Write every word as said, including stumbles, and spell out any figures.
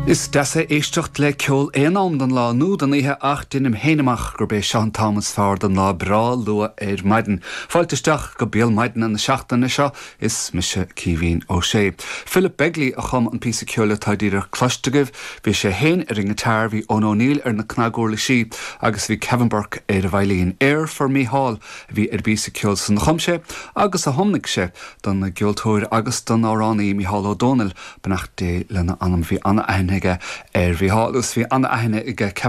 Is deas é éisteacht le ceol aon am den lá nó den oíche ach deinim féin amach gurb é seo an t-am is fearr den lá breá luath ar maidin. Fáilte isteach go Béal Maidine na seachtaine seo is mise Caoimhín Ó Sé. Philip Begley a chum an píosa ceoil atá díreach cloiste agaibh, bhí sé féin ar an ngiotár bhí Eoin O'Neill ar na cnaguirlisí agus bhí Kevin Burke ar an veidhlín. Air for Mícheál a bhí ar an bpíosa ceoil san a chum sé agus a thiomnaigh sé don gceoltóir agus don amhránaí Mícheál Ó Domhnaill beannacht Dé lena anam bhí an-aithne aige ar Mhícheál agus bhí an-aithne aige Kevin